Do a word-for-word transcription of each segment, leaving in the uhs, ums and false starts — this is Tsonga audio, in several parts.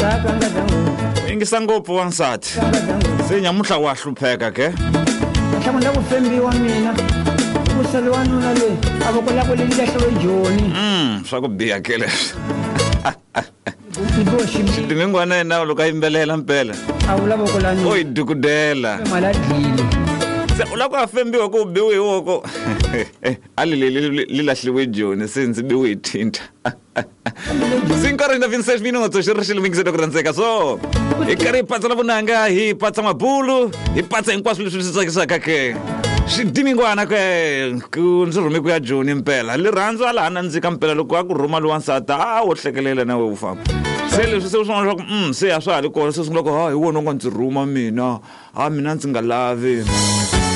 U yingisa ngopfu wansati se nyamuhla wa hlupheka ke. Nhlamulo ku fembiwa mina ku sale wanuna loyi a voko la ku le lahliwe joni. Mm swa ku biha ke leswi. Xidimingwana yena loko a yimbelela mpela a vula voko la o yi dukudela mali a dlile se u lava ku a fembiwa ku u biwe hi voko a li li li lahliwe joni se ndzi biwe hi thinta. Cinco horas e vinte e seis minutos, xi ri xi lumekisela ku rhandzeka so hi karhi hi patsa na vunanga hi patsa mabulu hi patsa hinkwaswo leswi swi tsakisaka ke xidimingwana ke ku ndzi rhume ku ya joni mpela rirhandzu a laha nandzika mpela loko a ku rhuma lowansati a wo hlekelela na we u famba se leswi se swin'wana swa ku mm se a swa ha ri kona se sungula ku ha hi wona u nga ndzi rhuma mina a mina ndzi nga lavi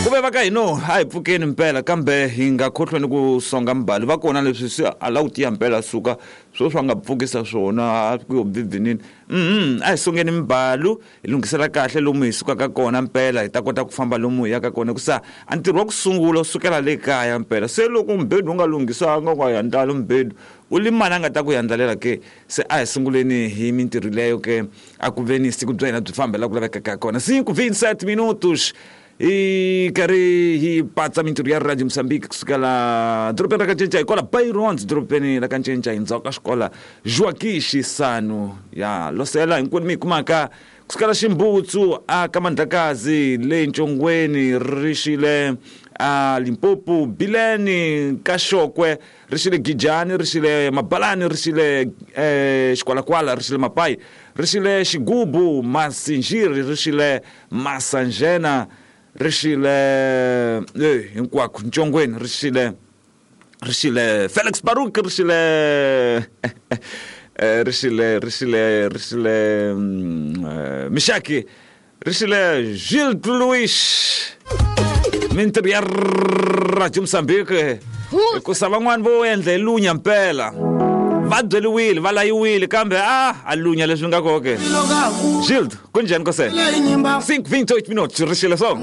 ku ve va ka hino a hi pfukeni mpela kambe hi nga khohlweni ku songa mbali va kona leswi se a la ku tiya mpela suka swo swa nga pfukisa swona a ku yo bibinini mhm a hi songeni mbalu hi lunghisela kahle lomu hi sukaka kona mpela hi ta kota ku famba lomu hi yaka kona hikusa a ntirho wa ku sungula u sukela le kaya mpela se loko mbedu u nga lunghisanga u nga yandlali mbedu u limani a nga ta ku yandlalela ke se a hi sunguleni hi mintirho leyo ke a ku veni siku bya hina byi fambela ku lavekaka kona. Cinco vinte e sete minutos hi karhi hi patsa mintirho ya Radio Mozambique kusukela dorobeni ra Kanchentsha hi kwala Bayrons dorobeni ra Kanchentsha hi ndzhaku ka xikola Joaquim Chissano ya losela hinkwenu mi hi kumaka kusukela Ximbutsu a ka Mandlakazi le Ntshongweni ri xile a Limpopo Bileni ka Xokwe ri xile Gijani ri xile Mabalani ri xile eh, Xikwalakwala ri xile Mapai ri xile Xigubu Masinjiri ri xile Masanjena ri xile eh hinkwako Ntshongweni ri xile ri xile Felix Baruk ri xile ri xile ri xile ri xile Mishaki ri xile Gilles Louis mintirho ya Radio Mozambique hikusa van'wani vo endla hi lunya mpela va byeliwile va layiwile kambe a a lunya leswi nga koke. Gilles kunjhani kose? Cinco vinte e oito minutos ri xile so.